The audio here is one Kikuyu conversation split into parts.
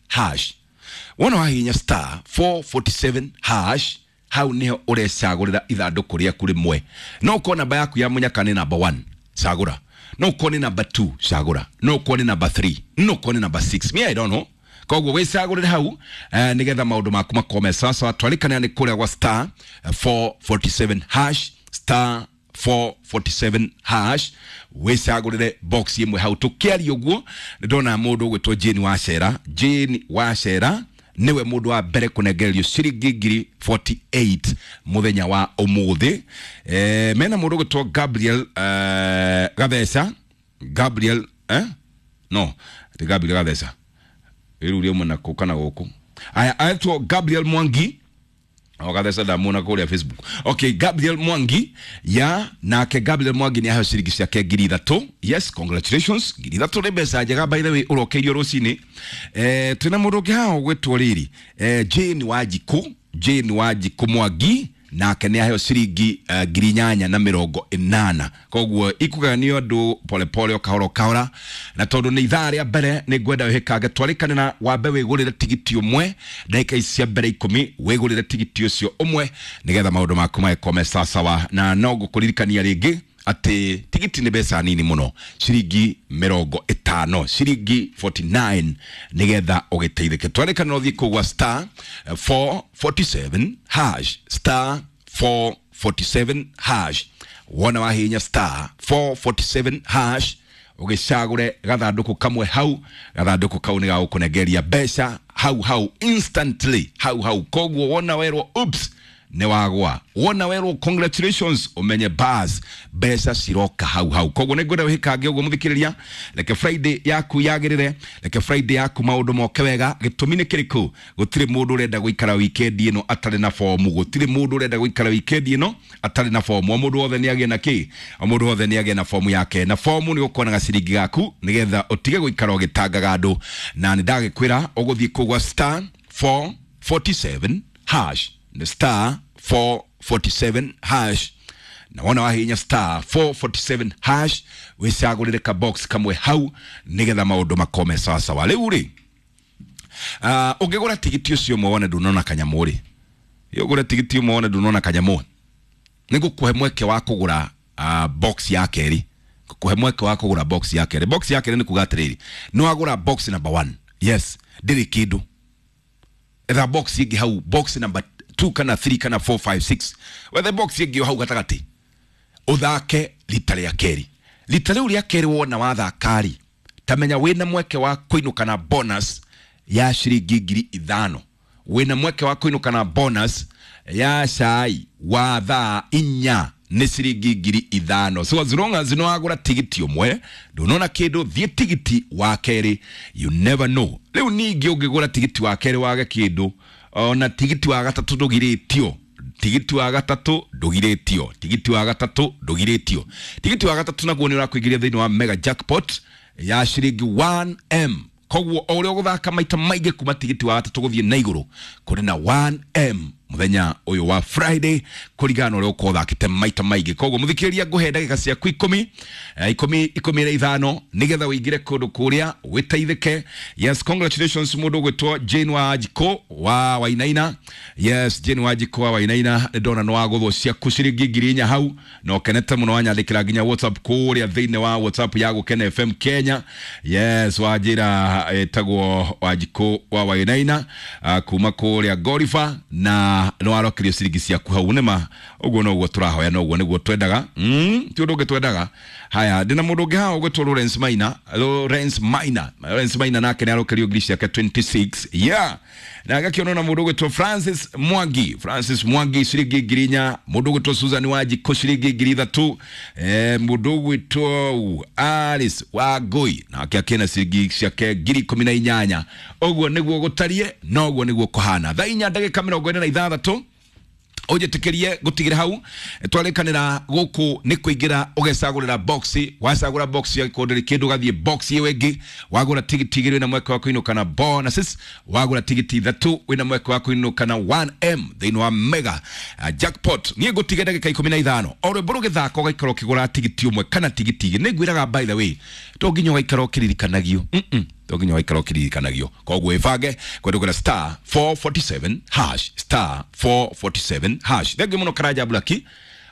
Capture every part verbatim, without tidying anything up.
hash. Wona wahihinya star four forty-seven hash, hau niho urecagurira ithanduku riaku rimwe. No ukorwo namba yaku ya munyaka ni number one, cagura. No ukorwo ni number two, cagura. No ukorwo ni number three, no ukorwo ni number six. Me I don't know. Koguo wicagurire hau eh, nigetha maundu maku makome sawa. Twarikana ni kuria gwa star four forty-seven hash, star four forty-seven hash, wicagurire box imwe hau. Tukiaria uguo ndona mundu ugwitwo Jane Wacera. Jane Wacera niwe mundu wa mbere kunengererio ciringi ngiri forty-eight muthenya wa umuthi. Eh, mena mundu ugwitwo Gabriel eh, Gatheca. Gabriel eh? No, ti Gabriel Gatheca iru ria mwana ku kana guku. Aya, aitwo Gabriel Mwangi. O Gatheca ndamuona kuria Facebook. Okay, Gabriel Mwangi ya nake Gabriel Mwangi ni aheo ciringi ciake ngiri ithatu. Yes, congratulations. Ngiri ithatu ni mbeca njega by the way urokeirio rucini. Eh, twina mundu ungi haha ugwitwo riri. Eh, Jane Wanjiku, Jane Wanjiku Mwangi nake ni aheo ciringi uh, ngiri inyanya na mirongo inana. Koguo ikuganio andu pole pole o kahora o kahora, na tondu ni ithaa ria mbere ni ngwenda wihikange twarikane na wambe wigurire tigiti umwe ndagika ici cia mbere ikumi, wigurire tigiti ucio umwe nigetha maundu maku magĩkome sawasawa. Na no ngũkũririkania rĩngĩ atĩ tigiti nĩ mbeca nini mũno, ciringi mĩrongo ĩtano, ciringi forty-nine, nigetha ũgĩteithĩke. Twarĩkana ũthiĩ kũu gwa star four forty-seven hash, star four forty-seven hash. Wona wahihinya star four forty-seven hash, ũgĩcagũre gathandũkũ kamwe hau. Gathandũkũ kau nĩ gagũkũnengeria mbeca hau hau instantly, hau hau. Koguo wona werwo oops nĩ wagwa, wona werwo congratulations, umenye bas mbeca ciroka hau hau. Koguo nĩ ngwenda wĩhĩkange ũguo mũthikĩrĩria, reke Friday yaku yagĩrĩre, reke Friday yaku maũndũ moke wega. Gĩtũmi nĩ kĩrĩkũ? Gũtirĩ mũndũ ũrenda gũikara weekend ĩno atarĩ na fomu. Gũtirĩ mũndũ ũrenda gũikara weekend ĩno atarĩ na fomu. O mũndũ wothe nĩ agĩe na kĩ? O mũndũ wothe nĩ agĩe na fomu yake, na fomu nĩ ũkuona gaciringi gaku nĩgetha ũtige gũikara ũgĩtangaga andũ. Na nĩ ndagĩkwĩra ũgũthiĩ kũu gwa star four forty-seven hash, the star four forty-seven hash. Na wona wahihinya star four forty-seven hash, wicagũrĩre ka box kamwe hau nigetha maũndũ makome sawasawa. Rĩu rĩ, uh, ũngĩgũra tigiti ũcio ũmwe wone ndunona kanyamũ rĩ, ũgũre tigiti ũmwe wone ndunona kanyamũ, nĩngũkũhe mweke wa kũgũra uh, box ya kerĩ. Ngũkũhe mweke wa kũgũra box ya kerĩ. Box ya kerĩ nĩ kuga atĩrĩrĩ, nĩ wagũra box number one, yes, ndĩrĩ kĩndũ. Etha box ĩngĩ hau, box number two kana three kana four five six, wethe box ĩngĩ hau gatagatĩ, ũthake rita rĩa kerĩ. Rita rĩu rĩa kerĩ wona wathaka-rĩ, tamenya wĩna mweke wa kũinũka na bonus ya ciringi ngiri ithano. Wĩna mweke wa kũinũka na bonus ya cai wa thaa inya nĩ ciringi ngiri ithano. So as long as nĩwagũra tigiti ũmwe ndũnona kĩndũ, thiĩ tigiti wa kerĩ, you never know. Rĩu ningĩ ũngĩgũra tigiti wa kerĩ wage kĩndũ, ona tigiti wa gatatũ ndũgirĩtio, tigiti wa gatatũ ndũgirĩtio, tigiti wa gatatũ ndũgirĩtio. Tigiti wa gatatũ naguo nĩ ũrakũingĩria thĩinĩ wa mega jackpot ya ciringi one M. Koguo o ũrĩa ũgũthaka maita maingĩ kuma tigiti wa gatatũ gũthiĩ na igũrũ, kũrĩ na one M mũthenya ũyũ wa Friday kũringana na ũrĩa ũkorwo ũthakĩte maita maingĩ. Koguo mũthikĩrĩria, ngũhe ndagĩka ciaku ikũmi, eh, ikũmi, ikũmi na ithano nĩgetha ũingĩre kũndũ kũrĩa wĩteithĩke. Yes, congratulations mũndũ ũgwĩtwo Jane Wanjikũ wa Wainaina. Yes, Jane Wanjikũ wa Wainaina, nĩ ndona nĩ wagũthwo ciaku ciringi ngiri inya hau, na ũkenete mũno, wanyandĩkĩra nginya WhatsApp kũrĩa thĩinĩ wa WhatsApp ya Gũkena F M Kenya. Yes, wanjĩra ĩtagwo Wanjikũ wa Wainaina, uh, kuma kũrĩa Gorifa, na nĩ warokerio ciringi ciaku hau. Nĩma ũguo noguo tũrahoya, noguo nĩguo twendaga. Mm, ti ũndũ ũngĩ twendaga. Haya, ndĩna mũndũ ũngĩ haha ũgwĩtwo Lawrence Maina. Lawrence Maina, Lawrence Maina nake nĩ arokerio ngiri ciake twenty-six. Yeah. Na agakĩonwo na mũndũ ũgwĩtwo Francis Mwangi. Francis Mwangi ciringi ngiri inya. Mũndũ ũgwĩtwo Susan Wanjikũ ciringi ngiri ithatũ. Eh, mũndũ ũgwĩtwo Alice Wangũi nake akĩna ciringi ciake ngiri ikũmi na inyanya. Ũguo nĩguo gũtariĩ, noguo nĩguo kũhana. Thaa inya ndagĩka mĩrongo ĩna na ithathatũ, ũnjĩtĩkĩrie gũtigĩra hau. Twarĩkanĩra gũkũ nĩ kũingĩra ũgecagũrĩra box. Wacagũra box ya gĩkũndĩ rĩ kĩndũ, ũgathiĩ box ĩyo ĩngĩ, wagũra tigiti igĩrĩ wĩna mweke wa kũinũka na bonuses, wagũra tigiti ithatũ wĩna mweke wa kũinũka na one M thĩinĩ wa mega uh, jackpot. Niĩ ngũtige ndagĩka ikũmi na ithano, o rwĩmbo rũgĩthaka ũgaikara ũkĩgũra tigiti ũmwe kana tigiti igĩrĩ. Nĩ ngwĩraga by the way, to nginya ũgaikara ũkĩririkanagio. Mm-mm. To nginya waikara ũkĩririkanagio. Koguo ĩbange kũhetũkĩra star four forty-seven hash, star four forty-seven hash. Thengiũ mũno Karanja Blaki,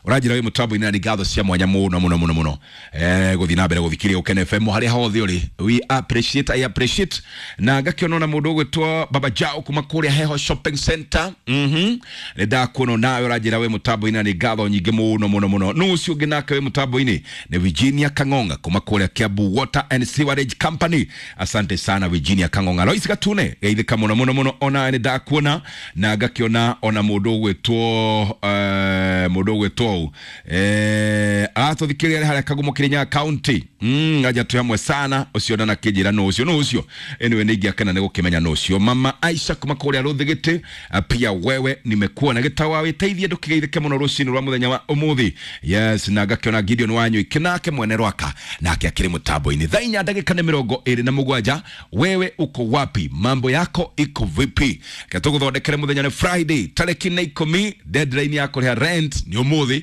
ũranjĩra wĩ mũtambo-inĩ na nĩ ngatho cia mwanya mũno mũno mũno mũno. Eh, gũthiĩ na mbere gũthikĩrĩria Ũkene F M harĩa hothe ũrĩ. We appreciate, I appreciate. Na ngakĩona ona mũndũ ũgwĩtwo Baba Jao kuma kũrĩa Heho Shopping Center. Mhm. Nĩ ndakuona nawe ũranjĩra wĩ mũtambo-inĩ na nĩ ngatho nyingĩ mũno mũno mũno. Nũ ũcio ũngĩ nake wĩ mũtambo-inĩ nĩ Virginia Kang'ong'a kuma kũrĩa Kiambu Water and Sewerage Company. Asante sana Virginia Kang'ong'a. Lois Gatune geithĩka mũno mũno mũno, ona nĩ ndakuona. Na ngakĩona ona mũndũ ũgwĩtwo, eh, mũndũ ũgwĩtwo ũũ. Eh, aratũthikĩrĩria harĩa Kagumo Kirinyaga County. Mm, aja twĩ hamwe sana. Ũcio ndana kĩnjĩra nũ ũcio, nũ ũcio. Anyway, nĩ ingĩakena nĩ gũkĩmenya nũ ũcio. Mama Aisha kuma kũrĩa Rũthĩgĩtĩ, pia wewe nimekuona. Gĩtawa wĩteithie ndũkĩgeithĩke mũno rũcinĩ rwa mũthenya wa ũmũthĩ. Yes, na ngakĩona Gideon Wanyuiki nake mwene Rwaka nake akĩrĩ mũtambo-inĩ. Thaa inya ndagĩka nĩ mĩrongo ĩrĩ na mũgwanja. Wewe uko wapi? Mambo yako iko vipi? Reke tũgũthondekere mũthenya nĩ Friday tarĩki nĩ ikũmi. Deadline ya kũrĩha rent nĩ ũmũthĩ.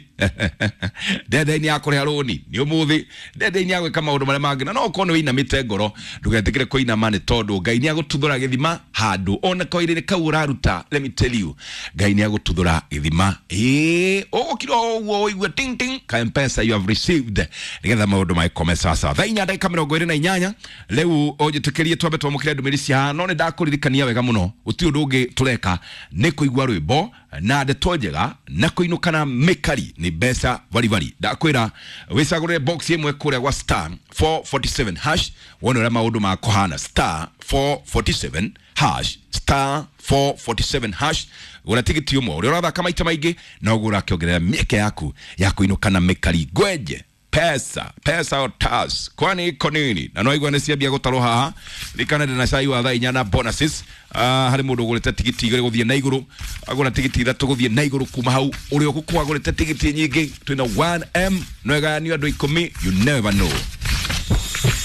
Deadline ya kũrĩha rũni nĩ ũmũthĩ. Deadline ya gwĩka maũndũ marĩa mangĩ. Na no ũkorwo nĩ wĩinamĩte ngoro, ndũgetĩkĩre kũinama nĩ tondũ Ngai nĩ agũtuthũra gĩthima handũ ona koirĩ kau ũraruta. Let me tell you, Ngai nĩ agũtuthũra gĩthima. Ĩĩ, ũgũkira o ũguo ũigue ting ting ka M-Pesa you have received, nĩgetha maũndũ magĩkome sawa sawa. Thaa inya ndagĩka mĩrongo ĩrĩ na inyanya. Rĩu ũnjĩtĩkĩrie twambe twamũkĩre ndũmĩrĩri cia haha, no nĩ ndakũririkania wega mũno gũtirĩ ũndũ ũngĩ tũreka nĩ kũigua rwĩmbo na ndeto njega na kũinũka na mĩkari nĩ mbeca baribari. Ndakwĩra wĩcagũrĩre box ĩmwe kũrĩa gwa star four forty-seven hash wone ũrĩa maũndũ makũhana. Star four forty-seven hash, star four forty-seven hash. Gũra tigiti ũmwe ũrĩa ũrathaka maita maingĩ noguo ũrakĩongerera mĩeke yaku ya kũinũka na mĩkari. Ngwenje pesa pesa otas kwani iko nini? Na no igua nĩ ciambia gũtarwo haha. Ririkana ndĩna cai wa thaa inya na bonuses. Ah, harĩ mũndũ ũgũrĩte tigiti igĩrĩ gũthiĩ na igũrũ, agũra tigiti ithatũ gũthiĩ na igũrũ. Kuma hau ũrĩa ũgũkorwo agũrĩte tigiti nyingĩ twĩna one M no ĩgayanio andũ ikũmi. You never know.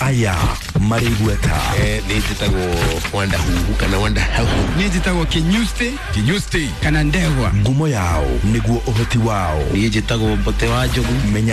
Aya marĩ igweta. Eh, nĩ njĩtagwo Wanda Huhu kana Wanda Huhu. Nĩ njĩtagwo Kinyusti Kinyusti kana Ndegwa. Ngumo yao nĩguo ũhoti wao. Niĩ njĩtagwo Mbote wa Njogu. Menya